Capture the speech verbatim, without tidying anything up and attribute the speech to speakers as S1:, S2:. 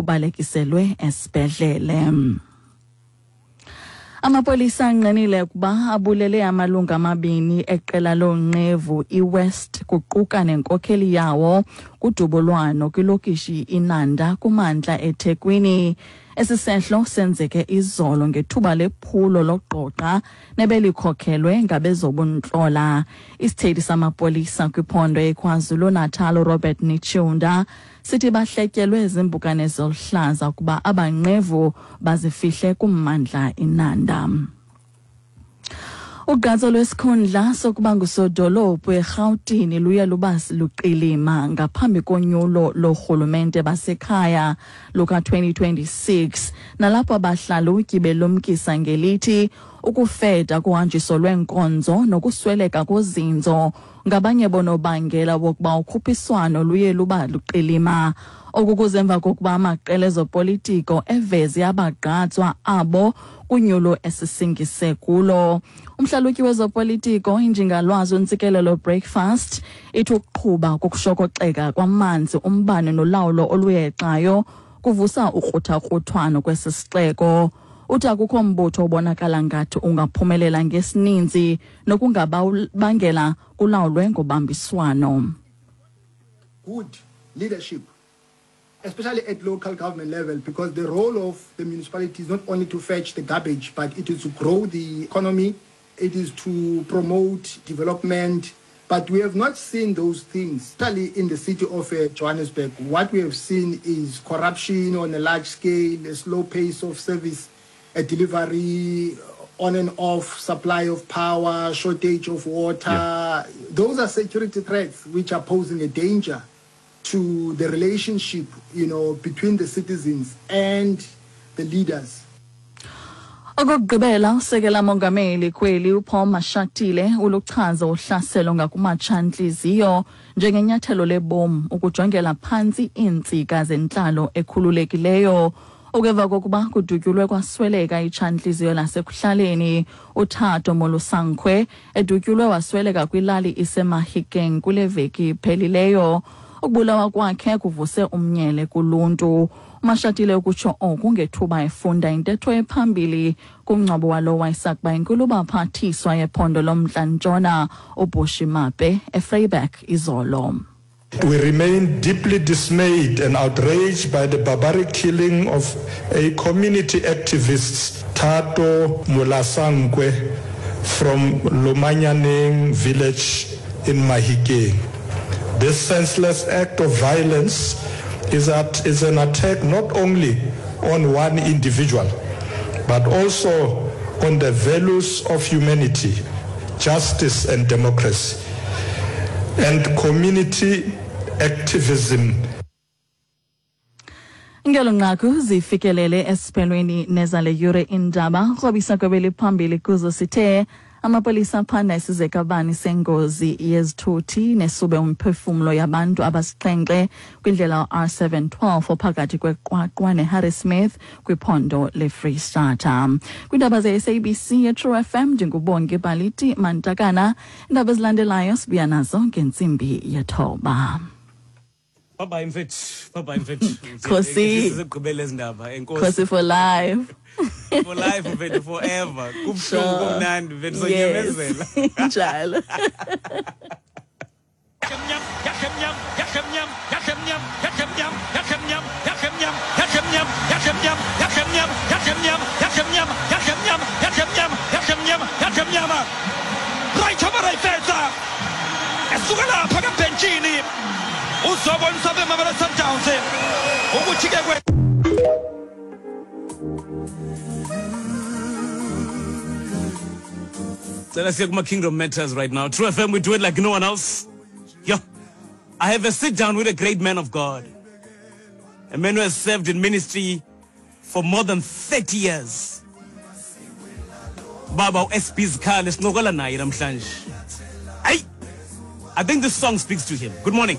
S1: Ubalekiselwe esibhedlele. Amapolisa angqinile ukuba abulele amalungu amabini eqela loonqevu iWest kuquka nenkokheli yawo kudubulwano kwilokishi iNanda kumantla eThekwini. Esi sehlo senzeke izolo ngethuba lephulo lokuqoqa nebelikhokhelwe ngabezobuntlola. Isithethi samapolisa kwiphondo eKwaZulu-Natal Robert Netshiunda sithi bahletyelwe ziimpukane zoluhlaza ukuba abanqevu bazifihle kummandla iNanda. Ugqatso lwesikhundla sokuba ngusodolophu eRhawutini luye luba luqilima ngaphambi konyulo lorhulumente basekhaya luka twenty twenty-six, nalapho abahlalutyi belumkisa ngelithi ukufeda kuhanjiso lweenkonzo nokusweleka kozinzo ngabanye bonobangela wokuba ukhuphiswano luye luba luqilima. Oku kuze emva kokuba amaqela ezopolitiko eveze abagqatswa abo kunyulo esisingise kulo. Umhlalutyi wezopolitiko injingalwazi uNtsikelelo Breakfast ithi ukuqhuba kokushokoxeka kwamanzi, umbane nolawulo oluyexayo kuvusa ukruthakruthwano kwesi sixeko. Uthi akukho mbutho obonakala ngathi ungaphumelela ngesininzi nokungabangela kulawulwe ngobambiswano.
S2: Good leadership, especially at local government level, because the role of the municipality is not only to fetch the garbage, but it is to grow the economy, it is to promote development. But we have not seen those things, especially in the city of uh, Johannesburg. What we have seen is corruption on a large scale, a slow pace of service uh, delivery, on and off supply of power, shortage of water.
S3: Yeah.
S2: Those are security threats which are posing a danger to the relationship, you know, between the citizens and the leaders.
S1: Okokugqibela, usekela mongameli kweli uPaul Mashatile uluchaza uhlaselo ngakumatshantliziyo njengenyathelo lebomu ukujongela phantsi iintsika zentlalo ekhululekileyo. Okeva kokuba kudutyulwe kwasweleka itshantliziyo lasekuhlaleni uThato Molosankwe edutyulwe wasweleka kwilali iseMahikeng kule veki iphelileyo. Ukubulawa kwakhe kuvuse umnyele kuluntu. uMashatile ukutsho oku ngethuba efunda intetho ephambili kumngcwabo walo wayesakuba inkulubaphathiswa yephondo lomntla-ntshona uBushy Mape eVryburg izolo.
S4: We remain deeply dismayed and outraged by the barbaric killing of a community activist, Thato Molosankwe, from Lomanyaneng village in Mahikeng. This senseless act of violence is, at, is an attack not only on one individual, but also on the values of humanity, justice and democracy, and community activism.
S1: Ngelo nqaku zifikelele esiphelweni nezale yure indaba. Krobisa kwebeli phambili kuzo sithe amapolisa aphanda isizekabani sengozi yezithuthi nesube umphefumlo yabantu abasixhenxe kwindlela R seven twelve ophakathi kweQwaqwa neHarrismith kwiphondo leFree State. Kwiindaba ze-S A B C yeTrue F M ndingubongi Baliti Mantakana. Iindaba ezilandelayo sibuya nazo ngentsimbi yethoba.
S5: Bye bye mfethu. Bye bye mfethu.
S1: Khosi.
S5: Sizigqibele izindaba. Enkosi.
S1: Khosi for life.
S5: For life mfethu, forever. Kubuhlungu kumnandi mfethu, sonyamezela.
S1: Njalo.
S5: So let's hear my Kingdom Matters right now. True F M, we do it like no one else. Yo, I have a sit down with a great man of God. A man who has served in ministry for more than thirty years. Baba S P Zikhali, sincokola naye namhlanje. Ay, I think this song speaks to him. Good morning.